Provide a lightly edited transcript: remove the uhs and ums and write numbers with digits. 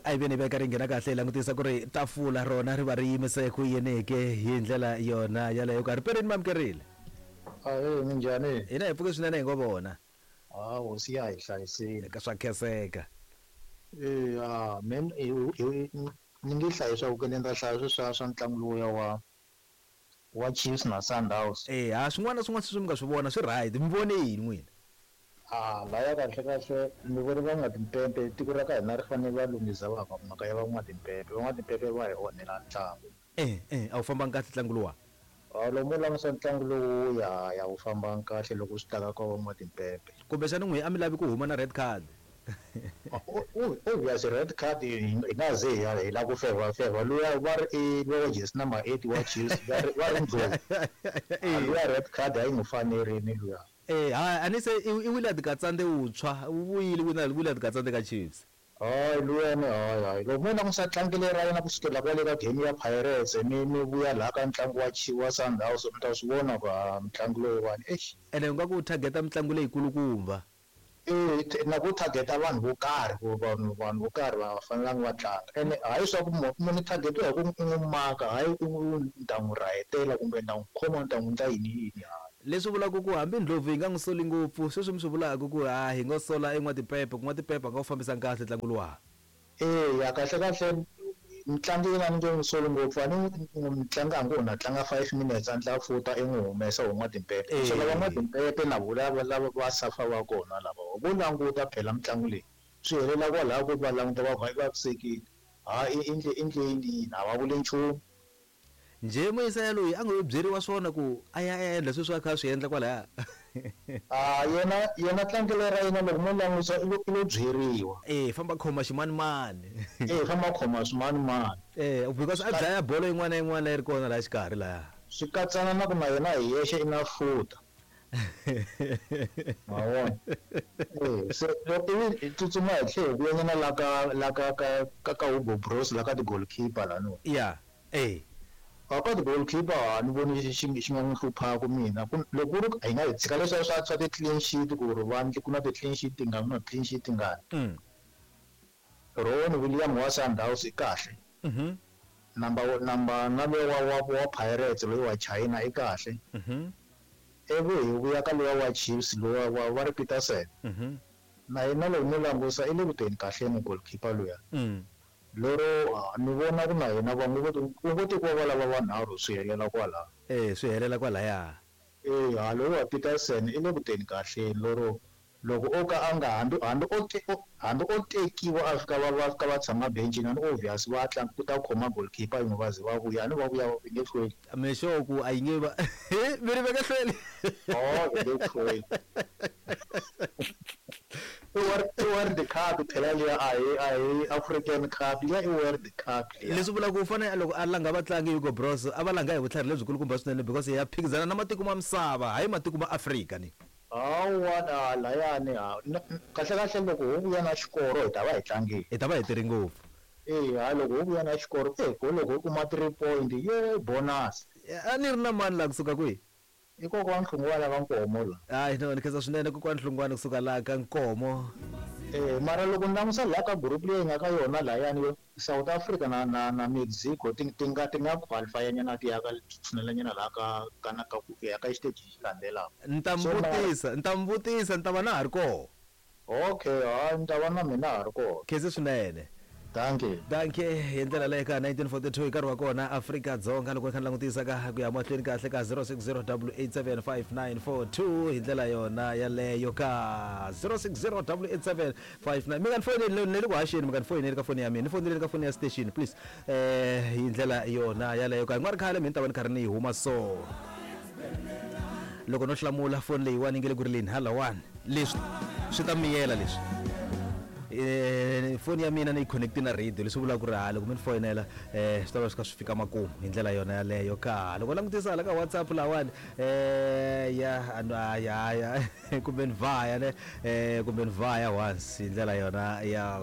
A yi ve ni veka ri nghena kahle hi langutisa ku ri tafula rona ri va ri yimise ku yini ke hi ndlela yona yaleyo ka ripereni mi amukerile. Ahee, minjhani? Hina hi pfuke swinene hi ngo vona. Ha hosi ya hi hlayisile. Ka swa khenseka. Eya, me ni nge hlayi swa ku ni ta hlaya sweswiya swa ntlangu lowuya wa wa Chiefs na Sundowns. Eya, swin'wana na swin'wana sweswi mi nga swi vona swi right, mi vone yini n'wina? A laya kahle kahle ni vone van'watimpempe tiko ra ka hina ri fanele va lunghisa va mhaka ya van'watimpempe, van'watimpempe va hi onhela ntlangu. E e a wu fambanga kahle ntlangu luwa. A loko mo langusa ntlangu lowu ya ya wu fambanga kahle loko swi ta ka ka van'watimpempe. Kumbexana n'wina a mi lavi ku huma na red card. Obvious red card hi nga ze hi ya hi la ku fevha fevha luya va ri i luya wa jersey number 8 wa Chiefs va ri va ri Ndlovu. A luya red card a yi n'wi fanerini luya. E ha a ni se i i Willard Katsande wuntshwa wu vuyile Willard Katsande ka Chiefs. Hayi luyani hayi hayi loko mo langusa tlangele ra yena kusukela kwale ka game ya Pirates mi mi vuya laha ka ntlangu wa wa Sundowns mi ta swi vona ku ha mutlangi loyiwani eish. Ene u nga ku u target-a mitlangu leyikulukumba. E na ku target-a vanhu vo karhi ku vanhu vanhu vo karhi va nga fanelanga va tlanga ene hayi swa ku munhu target-iwa hi ku u n'wi maka hayi u ni ta n'wi rahetela kumbe ni ta n'wi khoma ni ta n'wi endla yini yini hayi. Leswi vulaka ku hambi Ndlovu hi nga n'wi soli ngopfu, sweswi mi swi vulaka ku ha hi ngo sola e N'watipepe, ku N'watipepe a nga wu fambisanga kahle ntlangu luwa. Eya, kahle-kahle mutlangi yena a ni nge n'wi soli ngopfu, a ni mutlangi a ngo na tlanga 5 minutes a ndla futa i n'wi humesa ho N'watimpepe. So lava N'watimpepe na vo lava lava va safa va kona lava vo languta phela mitlangu leyi swi helela kwalaya ku va languta va ku hayi vavisekile, ha i endle endle yini yini a va vuli nchumu. Njhe muyisa yaloyi a ngo yo byeriwa swona ku a ya a ya endla sweswi a kha a swi endla kwalaya? A yena yena tlangelo ra yena loko mo langusa i lo i lo byeriwa. E famba khoma ximanimani. E famba khoma swimanimani. E because a dlaya bolo yin'wana na yin'wana leyi ri kona laha xikarhi laya. Swi katsana na ku na yena hi yexe i na futa. Ma vona? E se ivi hi tsutsuma hi tlhe hi vuyanyana la ka la ka ka ka ka Hugo Broos la ka ti-goalkeeper laniwa. Ya. E. A ka ti-goalkeeper a ni voni xi xi xi nga n'wi hluphaku mina ku loko ku ri hi nga hi tshika leswiya swa swa ti-clean sheet ku ri va ku na ti-clean sheet tingani ku na clean sheet tingani. Ronwen William wa Sundowns i kahle. Number number na luya wa wa wa Pirates loyi wa China i kahle. Ivi hi vuya ka luya wa Chiefs luwa wa va ri Petersen. Na yena loko mo langusa i le ku teni kahleni goalkeeper luya. Lero ni vona ku na yena va ngo ku ngo tekiwa va lava vanharhu swi helela kwalaya. E swi helela kwalaya. E ha loyi wa Petersen i le ku teni kahleni lero loko o ka a nga hambi hambi o hambi o tekiwa a fika va va fika va tshama bencini a ni obvious va tlanga ku ta khoma goalkeeper yin'we va ze va vuya a ni va vuya va nge hlweli. Mi sure ku a yi nge va mi ri va nge hlweli? Oh va nge hlweli. I world i world cup phela liya a hi a hi African cup liya i world cup liya. Leswi vulaka ku u fanele loko a langa vatlangi Hugo Broos a va langa hi vutlhari lebyikulukumba swinene because ya phikizana na matiko ma misava hayi matiko ma Afrika ni. Hawa na layani ha kahle kahle loko ho vuya na xikoro hi ta va hi tlangile. Hi ta va hi tirhe ngopfu. Eya loko ho vuya na xikoro e ko loko ho kuma 3 point ye bonus. A ni ri na mani laha kusuka kwihi? I kokwani Hlungwana ka Nkomo la. Hayi no ni khensa swinene kokwani Hlungwani kusuka laha ka Nkomo. E mara loko ni langusa laha ka group leyi hi nga ka yona lahayani yo South Africa na na na Mexico ti ti nga ti nga qualify nyana ti ya ka tshinela nyana laha ka ka na ka ku ya ka xiteji lexi landzelaka. Ni ta mi So mara vutisa ni ta mi vutisa ni ta va na ha ri koho. Okay hayi ni ta va na mina ha ri kona. Khensi swinene. Dankie. Dankie hi ndlela leyo ka 1942 hi nkarhi wa kona Afrika Dzonga loko ni kha ni langutisa ka ku ya mahlweni kahle ka 0608875942 hi ndlela yona yaleyo ka 06088759 mi nga ni foyineli ni le ku haxeni mi nga ni foyineli ka foni ya mina ni foyineleni ka foni ya station please eh hi ndlela yona yaleyo ka hi nga ri khale mi ni ta va ni karhi ni yi huma so loko no hlamula foni leyiwani yi nge le ku rileni halawani leswi swi ta miyela leswi eh foni ya mina ni yi connect na radio leswi vulaka ku ri ha loko mi ni foyinela eh swi ta va swi kha swi fika makumu hi ndlela yona yaleyo ka loko langutisa hala ka WhatsApp lawani eh ya ya ya kumbe ni vhaya ne eh kumbe ni vhaya once hi ndlela yona ya.